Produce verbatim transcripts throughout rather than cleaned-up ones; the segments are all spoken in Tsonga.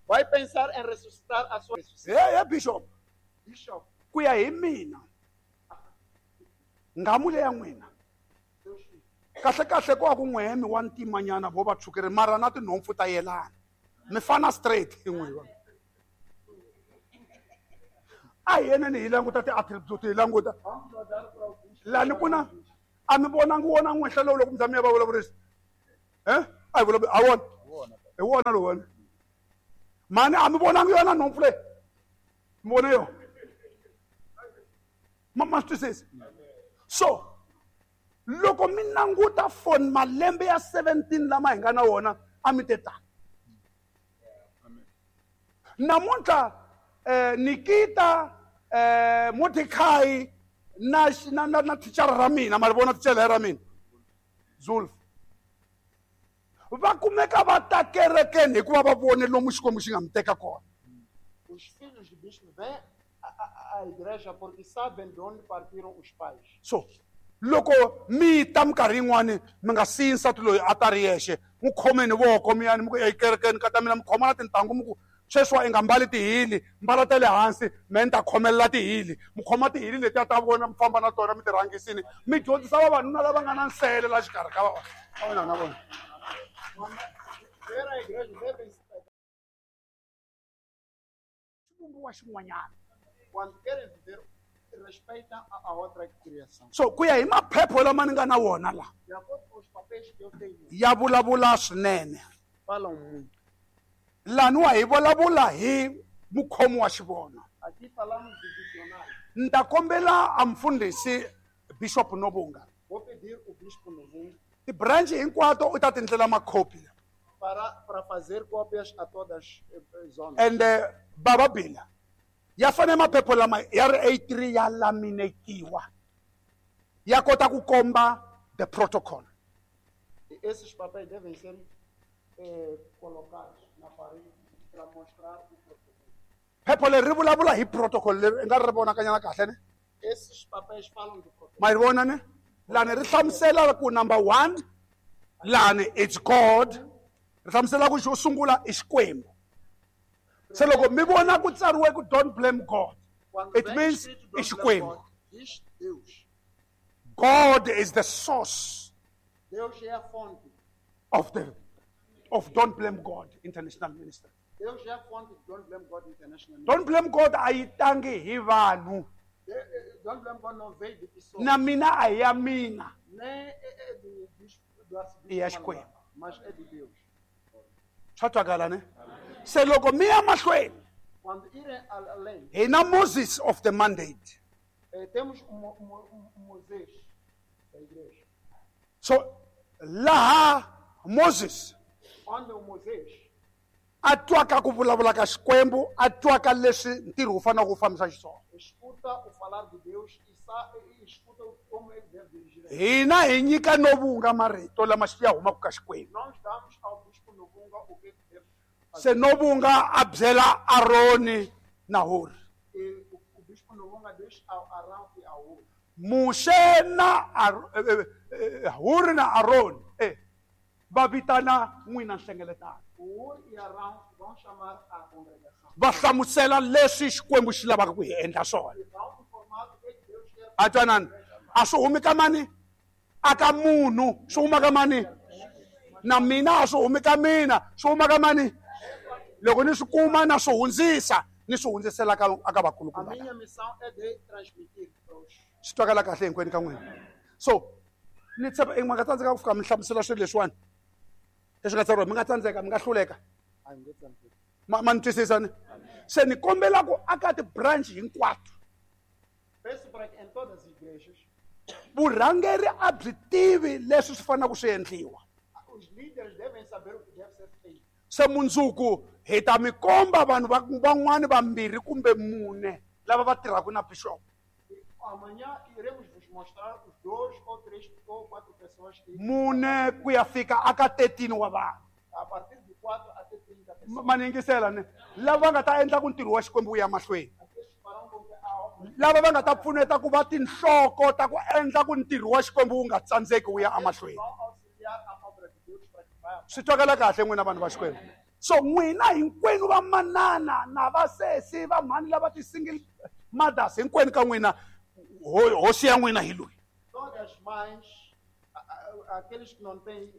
Vai pensar em ressuscitar a sua É, é, bishop. Bishop. Kuya hi mina. Ngamule ya n'wina. Kahle kahle ko ku n'wemi wa ntimanyana vo va tshukere mara na tinhompfu ta yelana. Mi fana straight hi n'wiwa. A hi yeneni hi languta ti-attribute hi languta. Lani kuna a mi vonangi wona n'wenhla lowu loko mi za mi ya va vulavurisa. Eh? A hi vulavuri a wona. Hi wona lowu wona. Mani a mi vonangi yona nhompfu leyi. Mi vone yona. Ma swi twisisa? So loko mi languta for malembe ya seventeen lama hi nga na wona a mi te tani. Namuntlha eh, Nikita eh, Mordecai na na na, na thicara ra mina ma ri vona thicara ra mina Zulf va kumeka va ta kerekeni hikuva va vone lomu Xikwembu xi nga mi teka kona. Os filhos de bispo vêm à igreja porque sabem de onde partiram os pais. So loko mi ta minkarhi yin'wani mi nga siyi nsati loyi a ta ri yexe n'wi khomeni voko mi yani mi ku ekerekeni ka ta mina mi khoma na tintangu mi ku sweswiwa i nga mbali tihili mbala ta le hansi me ni ta khomelela tihili mi khoma tihili letiya ta vona mi famba na tona mi ti rhangisini mi dyondzisa vavanuna lava nga na nsele la xikarhi ka vona na vona. Xivumbiwa xin'wanyana. Quando querem viver, respeitam a outra criação. So ku ya hi maphepha lama ni nga na wona la. De acordo com os papéis que eu tenho. Ya vulavula swinene. Falam muito. Laniwa hi vulavula hi mukhomi wa xivono. Aqui falamos de visionário. Ni ta kombela a mfundhisi Bishop Nobunga. Vou pedir o Bispo Nobunga. Ti-branch hinkwato u ta tindlela makhopi. Para para fazer cópias a todas as zonas. And uh, Baba Bila. Ya fanele maphepha lama ya ri A three ya laminetiwa. Ya kota ku komba the protocol. E esses papéis devem ser eh, colocados na parede para mostrar o protocolo. Phepha leri ri vulavula hi protocol leri i nga ri vonakanyana kahle ne? Esses papéis falam do protocolo. Ma yi vona ne? Lani ri hlamusela ku number one lani it's God. Ri hlamusela ku xo sungula i Xikwembu. Se loko mi vona ku tsariwe ku don't blame God, it means i Xikwembu. God is the source. Deus é a fonte of the of Don't Blame God International Ministry. Deus é a fonte de Don't Blame God International Ministry. Don't Blame God a yi tangi hi vanhu. Don't Blame God não veio de pessoas. Na mina a ya mina. Nem é do bispo do arcebispo. I ya Xikwembu. Mas é de Deus. Swa twakala ne? Se loko mi ya mahlweni. Quando irem além. Hi na Moses of the mandate. Eh, temos o Mo, Mo, Moisés da igreja. So laha Moses onde o Moisés a twaka ku vulavula ka Xikwembu, a twaka leswi ntirho wu faneleke wu fambisa xiswona. Escuta o falar de Deus e sabe e escuta como ele deve dirigir. Hina hi nyika Nobunga marito lama ya humaka ka Xikwembu. Nós damos ao bispo Nobunga o que deve fazer. Se Nobunga a byela Aroni na Hur. E o, o bispo Nobunga diz ao Arão e ao Hur. Muxe na Hur na Aroni eh va vitana n'wina nhlengeletano. Hur e Arão vão chamar a congregação. Va hlamusela leswi Xikwembu xi lavaka ku hi endla swona. A twanani a swi humi ka mani a ka munhu swi huma ka mani na mina a swi humi ka mina swi huma ka mani loko ni swi kuma na swi hundzisa ni swi hundzisela ka aka vakulukumba. A minha missão é de transmitir para os swi twakala kahle hinkwenu ka n'wina. So ni tshemba i nga tsandzeka ku fika mi hlamusela swilo leswiwani leswi nga tsariwa mi nga tsandzeka mi nga hluleka. Ma ma ni twisisa ni se ni kombela ku aka ti-branch hinkwato. Peço para que em todas as igrejas vurhangeri a byi tivi leswi swi faneleke swi endliwa. Os líderes devem saber o que deve ser feito. Se mundzuku hi ta mi komba vanhu van'wani vambirhi kumbe mune lava va tirhaka na bishop. Amanhã iremos vos mostrar os dois ou três ou quatro pessoas que mune ku ya fika aka thirteen wa vanhu. A partir de quatro até trinta pessoas. Ma ni yingisela ne lava va nga ta endla ku ntirho wa Xikwembu wu ya mahlweni. Lava va nga ta pfuneta ku va tinhloko ta ku endla ku ntirho wa Xikwembu wu nga tsandzeki wu ya emahlweni. Swi twakala kahle n'wina vanhu va Xikwembu. So n'wina hinkwenu va manana na vasesi va mhani lava ti-single mothers hinkwenu ka n'wina hosi ya n'wina hi loyi. Todas as mães, aqueles que não têm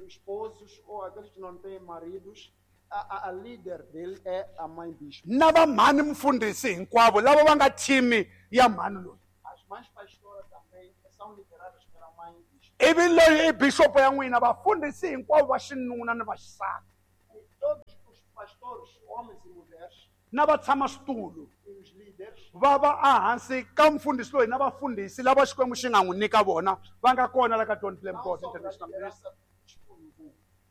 esposos ou aqueles que não têm maridos, a, a líder dele é a mãe bispo. Na va mhani mfundhisi hinkwavo lava va nga team ya mhani loyi. As mães pastoras também são lideradas pela mãe bispo. Ivi loyi i bishop ya n'wina vafundhisi hinkwavo va xinuna ni va xisati. Todos os pastores, homens e mulheres, na va tshama switulu e os líderes va va ehansi ka mfundhisi loyi na vafundhisi lava Xikwembu xi nga n'wi nyika vona va nga kona la ka Don't Blame God International Ministry.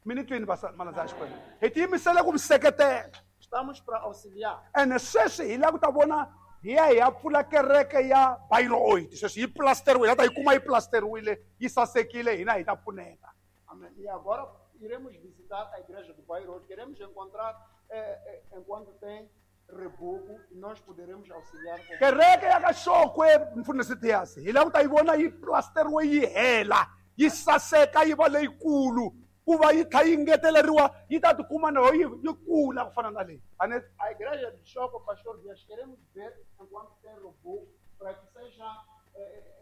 Mi ni twini malandza ya Xikwembu, hi tiyimisele ku mi seketela. Estamos para auxiliar. Ene sweswi hi lava ku ta vona hi ya hi ya pfula kereke ya Bayreuth. Sweswi yi plasteriwile, ta yi kuma yi plasteriwile, yi sasekile, hina hi ta pfuneta. Amen. E agora iremos visitar a igreja do Bayreuth. Queremos encontrar eh, eh, enquanto tem reboco e nós poderemos auxiliar. Com... Kereke ya ka Xokwe mfundhisi Dias, hi lava ku ta yi vona yi plasteriwe yi hela, yi saseka yi va leyikulu, ku va yi tlha yi ngeteleriwa yi ta tikuma na yi yi kula ku fana na leyi. A igreja de Xokwe, pastor Dias, queremos ver enquanto tem reboco para que seja eh,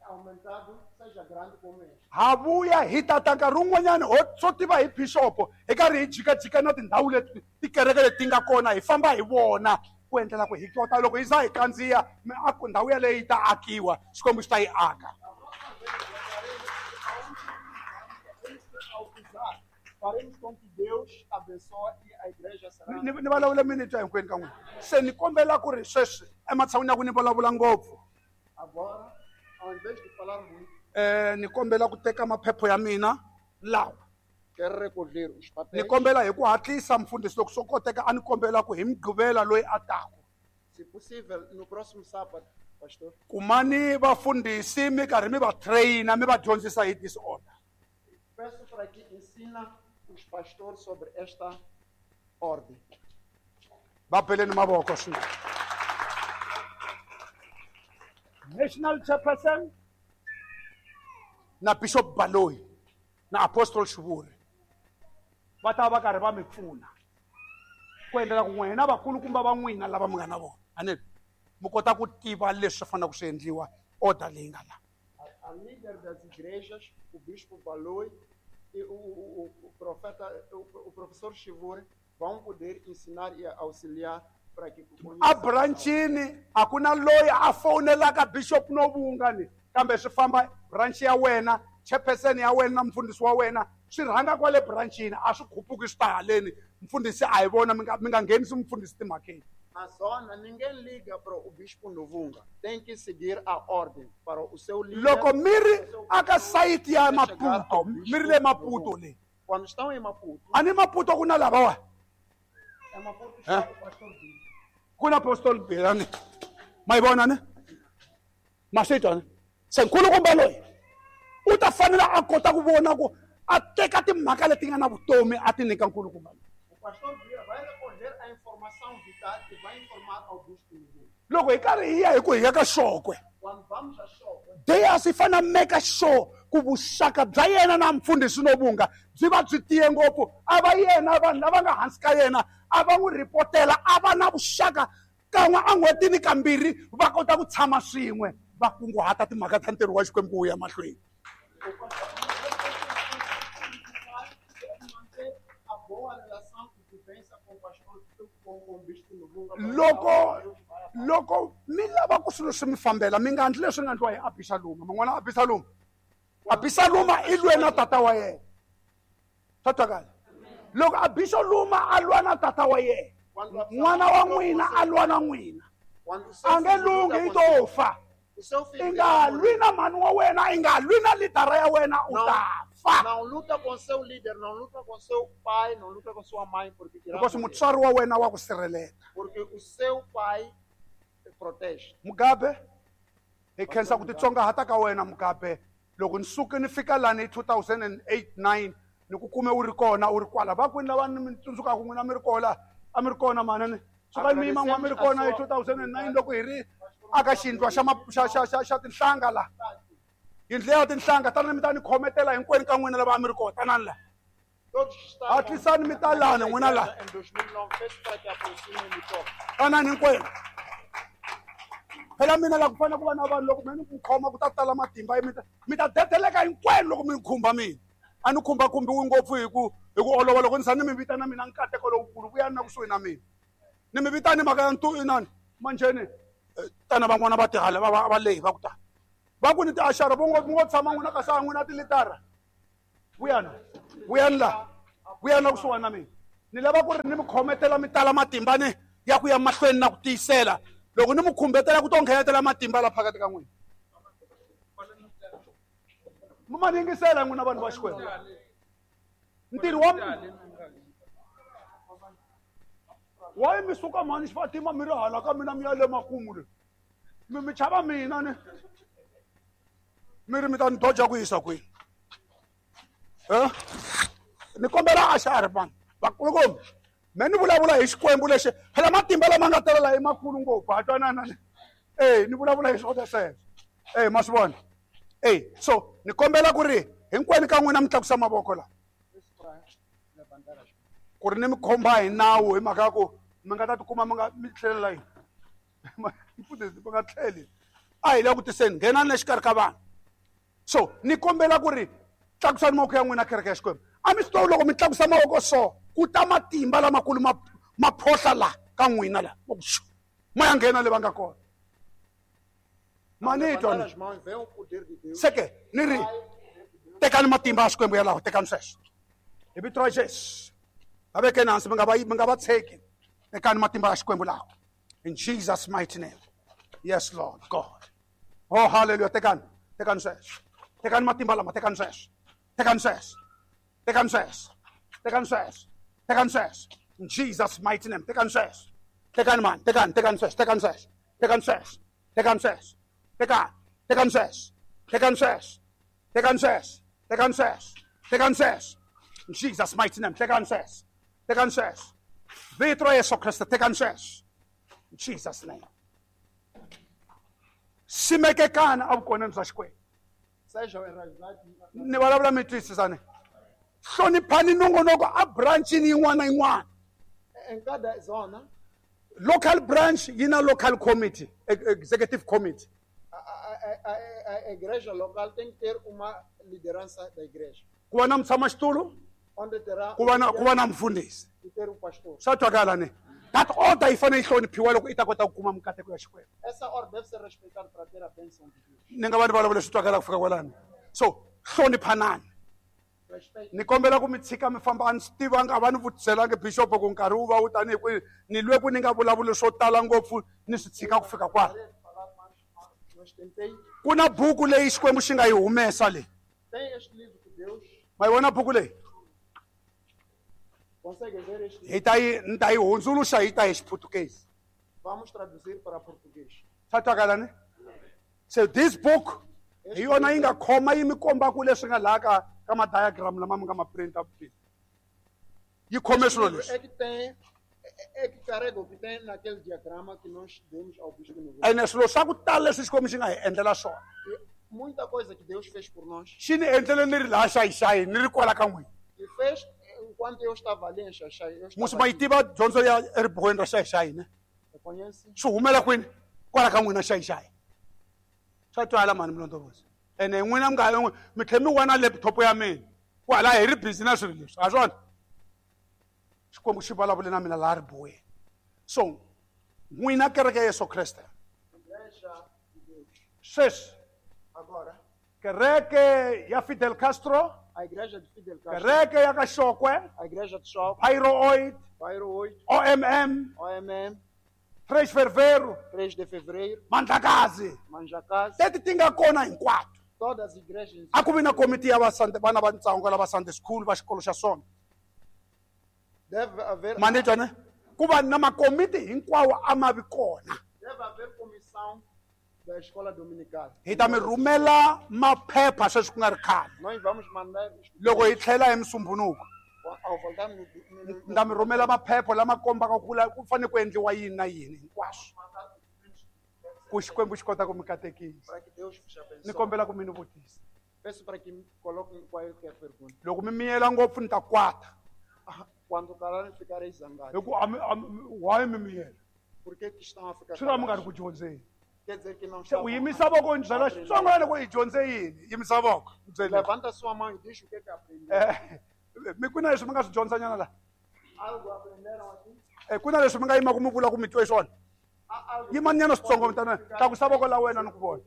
aumentado, seja grande como este. Ha vuya hi tata nkarhi wun'wanyana ho swo tiva hi bishop hi karhi hi jikajika na tindhawu leti tikereke leti nga kona hi famba hi vona ku endlela ku hi kota loko hi za hi kandziya miako ndhawu yaleyo yi ta akiwa Xikwembu xi ta yi aka. Faremos com que Deus abençoe e a igreja será. Ni ni vulavula minute hinkwenu ka n'wina. Se ni kombela ku ri sweswi ematshan'wini ya ku ni vulavula ngopfu. Agora, ao invés de falar muito, eh ni kombela ku teka maphepha ya mina lawa. Quero recolher os papéis. Ni kombela hi ku hatlisa mfundhisi loko swo koteka a ni kombela ku hi Mugqivela loyi a taku. Se possível, no próximo sábado, pastor. Kumani vafundhisi mi karhi mi va traina mi va dyondzisa hi disorder. Peço para que ensina os pastores sobre esta ordem. Va beleni mavoko swinene. National Chairperson na Bishop Baloyi na Apostle Shivuri va ta va karhi va mi pfuna ku endlela ku n'wina vakulukumba va n'wina lava mi nga na vona ane mi kota ku tiva leswi faneleke swi endliwa order leyi nga la. A líder das igrejas, o Bispo Baloyi e o, o, o profeta, o, o professor Shivuri vão poder ensinar e auxiliar para que a branchini a ku na loyi a fonelaka Bishop Novunga ni kambe swi famba branch ya wena, chairperson ya wena na mfundhisi wa wena swi rhanga kwale branchini a swi khupuki swi ta haleni mfundhisi a hi vona mi nga mi nga nghenisi mfundhisi timhakeni. Na zona ninguém liga para o Bispo Novunga, tem que seguir a ordem para o seu líder. Loko mi ri aka site ya Maputo, mi ri le Maputo le. Quando estão em Maputo. Ani Maputo ku na lava wa? Em Maputo está o pastor Bill. Ku na Apostle Bill ani. Ma yi vona ne? Ma swi twa ne? Se nkulukumba loyi u ta fanela a kota ku vona ku a teka timhaka leti nga na vutomi a ti nyika nkulukumba loyi. O pastor Bill vai recolher a informação vital e vai informar ao Bispo Novunga. Loko hi karhi hi ya hi ku hi ya ka Xokwe. Quando vamos a Xokwe, Dias i fanele make sure ku vuxaka bya yena na mfundhisi Novunga byi va byi tiye ngopfu a va yena vanhu lava nga hansi ka yena a va n'wi ripotela a va na vuxaka kan'we en'hwetini kambirhi va kota ku tshama swin'we va kunguhata timhaka ta ntirho wa Xikwembu ku ya mahlweni. Loko loko mi lava ku swilo swi mi fambela mi nga endli leswi nga endliwa hi Abixaloma. Man'wana Abixaloma Abixaloma i lwe na tata wa yena. Swa twakala? Loko Abixaloma a lwa na tata wa yena, n'wana wa n'wina a lwa na n'wina, a nge lunghi i to fa. I nga lwi na mhani wa wena, i nga lwi na lidara ya wena, u ta fa. Não luta com seu líder, não luta com seu pai, não luta com sua mãe, porque irá Because mutswari wa wena wa ku sirhelela. Porque o seu pai te protege. Mugabe, hi khensa ku titsongahata ka wena Mugabe. Loko ni suke ni fika lani hi two thousand eight nine ni ku kume u ri kona u ri kwala va kwini lava ni mi tsundzukaku n'wina mi ri kona a mi ri kona manani suka mi yima n'wa mi ri kona hi two thousand nine loko hi ri aka xindlwa xa xa xa xa xa tinhlanga la yindlu ya tinhlanga tanani mi ta ni khometela hinkwenu ka n'wina lava a mi ri kona tanani la Todos que estavam Hatlisani mi ta lani n'wina laha. em dois mil e nove, peço para que aproximem e me toquem. Tanani hinkwenu. Phela mina la ku fanele ku va na vanhu loko mi ni ku khoma ku ta tala matimba mi ta mi ta dedeleka hinkwenu loko mi ni khumba mina. A ni khumbakhumbiwi ngopfu hi ku hi ku olova loko ni za ni mi vitana mina nkateko lowukulu vuyani na kusuhi na mina. Ni mi vitani mhaka ya ntu inani manjheni tana van'wana va tihala va va va lehi va ku ta. Va ku ni tiaxara vo ngo ngo tshama n'wina kasi a n'wina tilitara. Vuyani vuyani la vuyani la kusuhani na mina. Ni lava ku ri ni mi khometela mi tala matimba ni ya ku ya mahlweni na ku tiyisela. Loko ni mi khumbetela ku to nghenetela matimba la phakathi ka n'wina. Mi ma yingisela n'wina vanhu va Xikwembu. Ntirho wa why mi suka mhani Xifatima mi ri hala ka mina mi ya le makumu le. Mi mi chava mina ni. Mi ri mi ta ni doja ku yisa kwini. Eh? Ni kombela axara vanhu. Vakulukumba. Me ni vulavula hi Xikwembu lexi phela matimba lama nga tala la i makulu ngopfu ha twanana ni. Eh, ni vulavula hi swona sweswo. Eh, ma swi vona. Eh, so ni kombela ku ri hinkwenu ka n'wina mi tlakusa mavoko la. Ku ri ni mi khomba hi nawu hi mhaka ya ku mi nga ta tikuma mi nga mi tlhelela yini. Mfundhisi mi nga tlheli. A hi le ku tiseni nghenani exikarhi ka vanhu. So ni kombela ku ri tlakusani mavoko ya n'wina kereke ya Xikwembu. A mi swi tivi loko mi tlakusa mavoko so ku ta matimba lamakulu ma ma phohla la ka n'wina la. Ma ya nghena le va nga kona. Mani twa ni. Seke ni ri tekani matimba ya Xikwembu yalawo tekani sweswo. Hi vito ra Jesu. Va vekeni hansi mi nga va mi nga va tsheki. Tekani matimba ya Xikwembu lawa. In Jesus mighty name. Yes Lord God. Oh hallelujah tekani tekani sweswo. Tekani matimba lama tekani sweswo. Tekani sweswo. Tekani sweswo. Tekani sweswo. Tekani sweswo. In Jesus mighty name. Tekani sweswo. Tekani man, tekani tekani sweswo, tekani sweswo. Tekani sweswo. Tekani sweswo. Tekani, tekani sweswo. Tekani sweswo. Tekani sweswo. Tekani sweswo. Tekani sweswo. In Jesus mighty name. Tekani sweswo. Tekani sweswo. Vito ra Yesu Kriste tekani sweswo. In Jesus name. Simekekana evukoneni bya Xikwembu. Ni vulavula mi twisisani. Hloniphani nongonoko a branchini yin'wana na yin'wana. Em cada zona, Local branch yi na local committee, executive committee. A, a, a, a igreja local tem que ter uma liderança da igreja. Ku va na mutshamaxitulu, Onde terá ku va na ku va na mfundhisi. E ter um pastor. Swa twakala ni. That order yi fanele yi hloniphiwa loko i ta kota ku kuma mikateko ya Xikwembu. Essa ordem deve ser respeitada para ter a bênção de Deus. Ni nga va ni vulavula swi twakala ku fika kwalano. So hloniphanani. Ni kombela ku mi tshika mi famba a ni swi tivanga a va ni vutiselangi bishop ku nkarhi wu va wu tanihi kwihi ni lwe ku ni nga vulavuli swo tala ngopfu ni swi tshika ku fika kwala. Ku na buku leyi Xikwembu xi nga yi humesa leyi. Ma yi vona buku leyi? Hi ta yi ni ta yi hundzuluxa hi ta hi Xiputukezi. Vamos traduzir para português. Swa twakala ni? So this book hi yona yi nga khoma yi mi komba ku leswi nga laha ka ka ma diagram lama mi nga ma printa yi khome swilo leswi. É que tem é que carrega o que tem naquele diagrama que nós demos ao bispo no. Ene swilo swa ku tala leswi Xikwembu xi nga hi endlela swona. Muita coisa que Deus fez por nós. Xi ni endlele ni ri laha Xayi-Xayi ni ri kwala ka n'wina. E fez enquanto eu estava ali em Xayi-Xayi. Eu Musi ma yi tiva dyondzo ya eribuweni ra Xayi-Xayi ne? Conhece? Swi humela kwini? Kwala ka n'wina Xayi-Xayi. Swa twala mani Mlondolozi. Ene n'wina mi nga mi tlhe mi wana laptop ya mina. Kwala hi ri busy na swilo leswi. Ha swona? Xikwembu xi vulavule na mina laha ribuweni. So n'wina kereke ya Yesu Kreste. Sweswi Agora kereke ya Fidel Castro, a igreja de Fidel Castro, kereke ya ka Xokwe, a igreja de Xokwe, Pyro oito, Pyro oito, O M M, O M M, três de fevereiro, três de fevereiro, Mandlakazi, Manjakazi, teti ti nga kona hinkwato. Todas as igrejas. A ku vi na komiti ya va Sunday, vana va ntsongo lava Sunday school va xikolo xa swona. Deve haver Mani twa ne? Ku va na makomiti hinkwawo a ma vi kona. Deve haver comissão da escola dominical. Hi ta mi rhumela maphepha sweswi ku nga ri khale. Nós vamos mandar os Loko hi tlhela hi Musumbhunuku. Ao voltarmos no, no, Ni ta mi rhumela maphepha lama kombaka ku la ku fanele ku endliwa yini na yini hinkwaswo. Ku Xikwembu xi kota ku mi katekisa. Para que Deus vos abençoe. Ni kombela ku mi ni vutisa. Peço para que me coloquem qualquer pergunta. Loko mi miyela ngopfu ni ta kwata. Quando calarem, ficarei zangado. Hi ku a mi a mi why mi miyela? Por que que estão a ficar Swi vula mi nga ri calados? ku dyondzeni. Quer dizer que não Se estavam u yimisa voko ni byela xitsongwana ku i dyondze yini? Yimisa voko. Byeli. Levanta sua mão e diz o que que aprendeu. Eh, mi ku na leswi mi nga swi dyondzanyana la? Algo aprenderam aqui? Eh, ku na leswi mi nga yima ku mi vula ku mi twe swona? Há algo Yimanyana switsongo mi tana tlakusa voko la wena ni ku vona.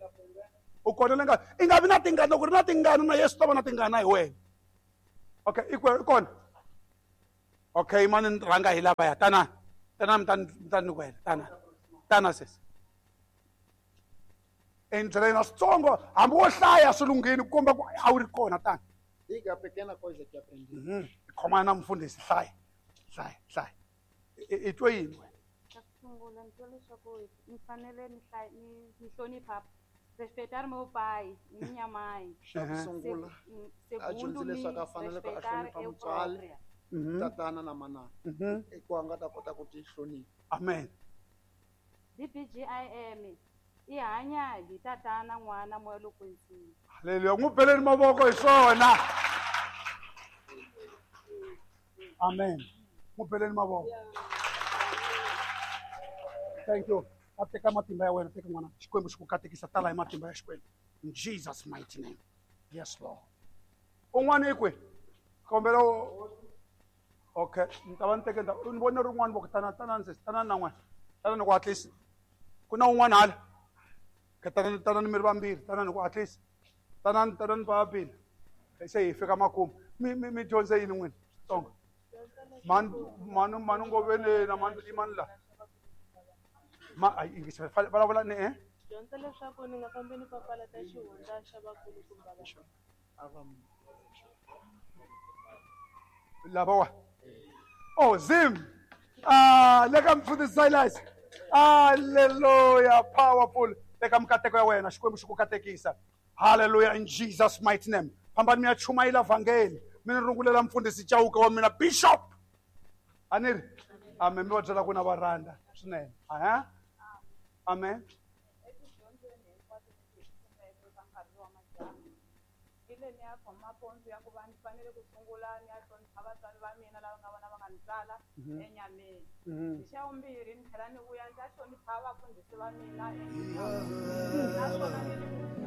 U kona le nga i nga vi na tingana loko ri na tingana na Yesu ta va na tingana hi wena. Okay, i kwe- i kona. Okay, mani ni rhanga hi lavaya. Tana. Tana mi ta ni mi ta ni kwela. Tana. Tana sesi. Endlela na switsongo hambi wo hlaya swi lunghile ku komba ku a wu ri kona tana. Diga a pequena coisa que aprendi. Mhm. Khomana na mufundhisi hlaya. Hlaya, hlaya. I i twe yini wena? Xa ku sungula ni twa leswaku ni fanele ni hlaya ni ni hlonipha respeitar meu pai e minha mãe. Xa ku Aham. sungula, Se- a Segundo, dyondzile me leswaku a fanele ku a respeitar hlonipha eu mutswari, própria. Mhm. tatana na manana. Mhm. I ku a nga ta kota ku ti hlonipha. Amen. D B G I M i hanya hi tatana n'wana moya lowo kwetsima. Haleluya. N'wi beleni mavoko hi swona. Amen. N'wi beleni mavoko. Thank you. A teka matimba ya wena, teka n'wana. Xikwembu xi ku katekisa tala hi matimba ya Xikwembu. In Jesus mighty name. Yes, Lord. Un'wana i kwihi? Kombela u Okay, ni ta va ni teke ndhawu. Ni vone rin'wana voko tana tana sesi, tana na n'wana. Tana ni ku hatlisa. Ku na un'wana hala. Ka tana tana ni mi ri vambirhi, tana ni ku hatlisa. Tanani tanani va vambirhi. Se hi fika makumu. Mi mi mi dyondze yini n'wina? Switsongo. Mani mani mani Ngoveni na mani i mani la? Ma ayi yingisa vulavula ni eh? Dyondza leswaku ni nga fambi ni papalata xihundla xa vakulukumba va A va mi- Lavawa. Oh, Zim. Ah, leka mfundhisi Silas. Hallelujah, powerful. Leka mikateko ya wena, Xikwembu xi ku katekisa. Hallelujah in Jesus mighty name. Fambani mi ya chumayela vhangeli. Mi ni rungulela mfundhisi Chauke wa mina bishop. A ni ri? Amen. Mi va byela ku na va rhandza swinene. Aha. Amen. Etidyondzweni hinkwato leti hi kumeke ka nkarhi wa madyambu ni le ni ya khoma pondzo ya ku va ni fanele ku sungula ni ya hlonipha vatswari va mina lava nga vona va nga ni tswala enyameni. Mhm. Hi xa vumbirhi ni tlhela ni vuya ni ta hlonipha vafundhisi va mina enyameni. Naswona ni ri ku